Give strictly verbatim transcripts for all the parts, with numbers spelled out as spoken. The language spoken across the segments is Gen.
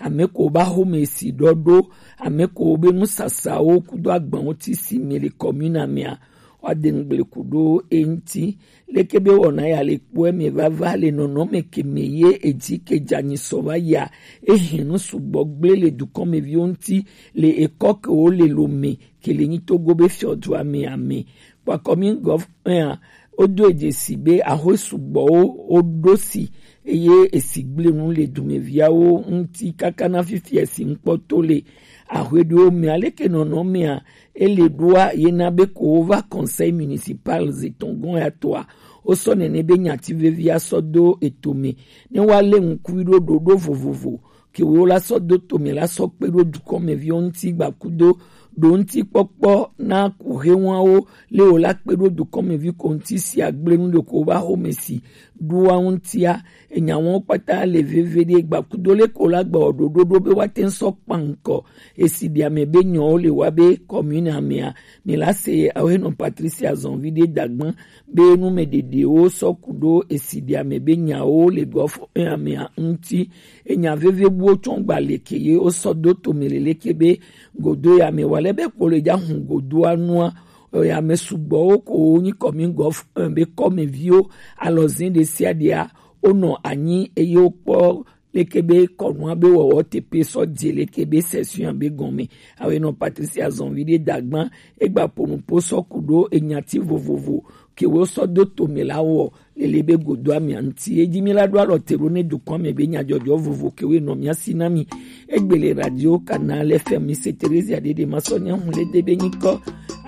Ame ko ba xome si ɖɔɖo, ame ko be nusasawo kudo agbanwo ti si mi le commune mea, wa de ŋgble kudo e ŋuti. Leke be wɔna ya le kpɔe me vava le nɔnɔme ke me ye edzi ke dza nyi sɔ va ya, ehin nu sugbɔ gble le dukɔmeviwo ŋuti le ekɔ ke wo le lo me ke le nyi Togo be fiɔdua me ame. Kpakɔ mi gɔv ea, wodo edze si be ahoe sugbɔwo woɖo si eye esi gblẽ nu le dumeviawo ŋuti kaka na fifia si ŋkpɔ to le ahoe ɖewo me. Aleke nɔnɔ mea ele ɖoa ye na be ko wova conseil municipal zetɔn gɔn ya toa, wosɔ nene be nyati vevi asɔ do eto me ne woalé ŋkui ɖo ɖoɖo vovovo ke wo la sɔ do tome la sɔ kpe ɖo dukɔmeviwo ŋuti gbakudo ɖo ŋuti kpɔkpɔ na kuhewawo le wo la kpe ɖo dukɔmevi ko ŋuti si agble nu ɖeko va xome si ɖoa ŋutia. Enya wɔn kpata le veve ɖe gbakudo le ko la gba ɖoɖo ɖo be woate ŋu sɔ kpa ŋkɔ esi ɖe ame be nyɔwo le wa be commune amea. Mi la se awo henɔ Patricia Zɔnvi ɖe dagban be nu me ɖeɖewo sɔ ku ɖo esi ɖe ame be nyawo le gɔfɔ amea ŋuti. Enya veve buwo tsɔ gba leke ye wosɔ do tome leleke be godo ya me wa le be kpolo ja hun godoa nua. Ya me sugbɔwo ko wo nyi kɔmi gɔf be kɔmeviwo alɔzin ɖe sia ɖea wonɔ anyi eye wokpɔ leke be kɔnua be wɔwɔ tepe sɔ dze leke be session be gɔme. Awe nɔ Patricia Zɔnvi ɖe dagban egba ponupo sɔ ku ɖo enyati vovovo ke wo sɔ do tome la wɔ lele be godo amia ŋuti. Edzi mi la ɖo alɔ te ɖo ne dukɔ me be nyadzɔdzɔ vovo ke wo nɔ mia si na mi. Egbele radio Canal F M mi se Theresia ɖe ɖe ma sɔ nya hun le de be nyikɔ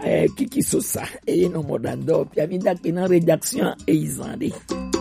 eh, Kiki Sosa eye nɔ mɔ ɖa dɔ pia mi da kpe na rédaction eyizan ɖe.